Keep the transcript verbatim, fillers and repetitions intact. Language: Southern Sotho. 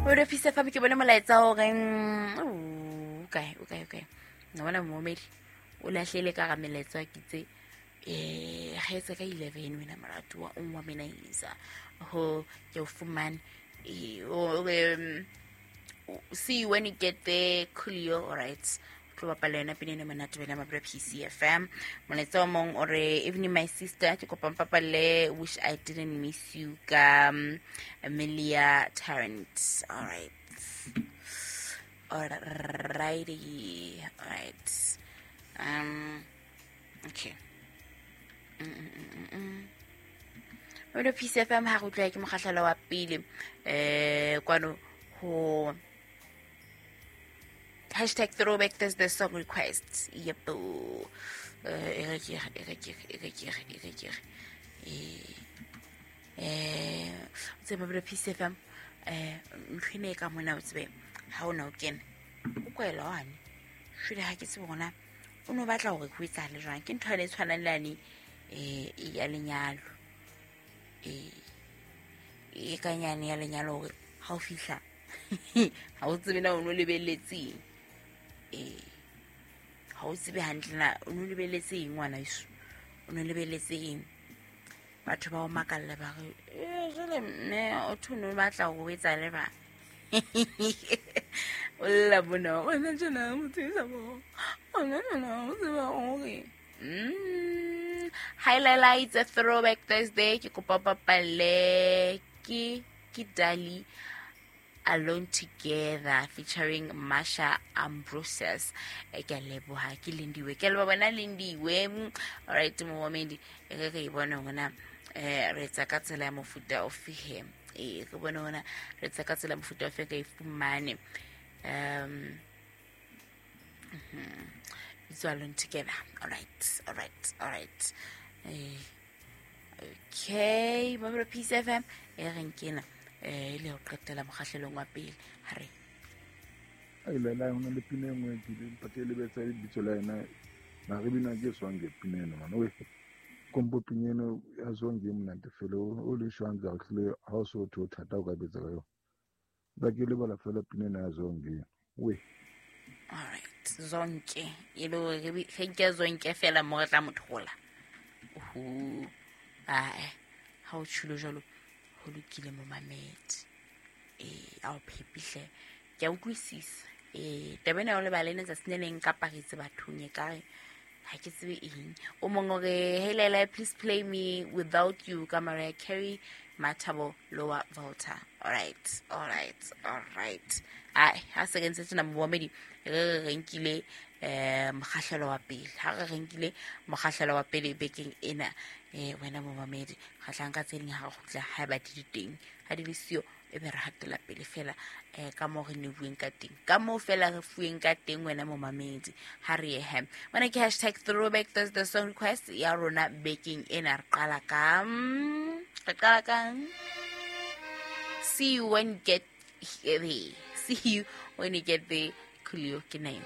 O re fisa fa ke bone molaetsa o reng o kae o kae o kae nna bona momedi o lahlele ka ga melaetsa ke tse eh ga etsa ka eleven wena moratuwa o wa mena isa ho ke o fumane eh o see you when you get there Coolio. All right, tlo bapala yona pina ena monate wena mabra P C F M. Molaetsa o mong o re evening my sister ke kopa mpapalle wish I didn't miss you ka um, Amelia Tarrant. All right, all righty, all right, um okay. Mm -mm -mm. Wena P C F M ha go tla ke mogahlelo wa pele eh kwano ho hashtag throwback Thursday song requests. Yep. Eh eh tsebe bro P C F M eh ntlhene ka mona o tsebe ha ona o kene o kwela hwane shule ha ke tsebe gona o no batla hore go etsale jwang ke ntho e tshwanang le ane eh ya lenyalo eh e kanyane ya lenyalo hore ha o fihla ha o tsebe na o no lebelletseng eh ha o tsebe hantle na o no lebelletse eng ngwana iso o no lebelletse eng batho ba o makalla ba re eh jole mme o thono batla go etsa le ba o la bona o na tsena motho sa bo o na na o tseba hore mm highlights a throwback Thursday ke kopa papalle ke ke Dali Alone Together featuring Masha Ambrosius. E ke leboha ke Lindiwe ke leboha bona Lindiwe. All right momedi e re re bona hona eh re tsa ka tsela ya mofuta ofe he e re bona hona re tsa ka tsela mofuta ofe ka ifumane um it's Alone Together. All right, all right, all right. Eh okay Mabro P C F M e re nkena eh le ho qetela mokgahlelong wa pele ha re ai le la hona le pina e nngwe ke le le betsa lebitso la yena na re bina ke swange pina eno mona we kompo pina eno ya swange monate fela o le shwang ka tlile ha o so tho thata o ka betsa ka yona ba ke le bala fela pina eno ya zonke we. All right, zonke e le re ke zonke fela mo re tla mothola oho ai ha o tshilo jalo ho lokile momamedi eh a o phepihle ke a utlwisisa eh taba ena o lebale ne tsatsi le leng ka paritse bathong e ka re ha ke tsebe eng o mong o re hey Lela please play me Without You ka Mariah Carey Mathabo Lower Volta. All right, all right, all right. Ai ha se re ntse tsena momamedi re re nkile eh mokgahlelo wa pele ha re re nkile mokgahlelo wa pele bekeng ena eh wena momamedi kgahlang ka tse ding ha re kgutla ha ba di teng ha di le siyo e be re hatela pele fela eh ka mo re ne bueng ka teng ka mo fela re fueng ka teng wena momamedi ha re ye he wena ke hashtag throwback Thursday song request ya rona bekeng ena re qala ka re qala ka see you when you get there, see you when you get there Coolio ke name.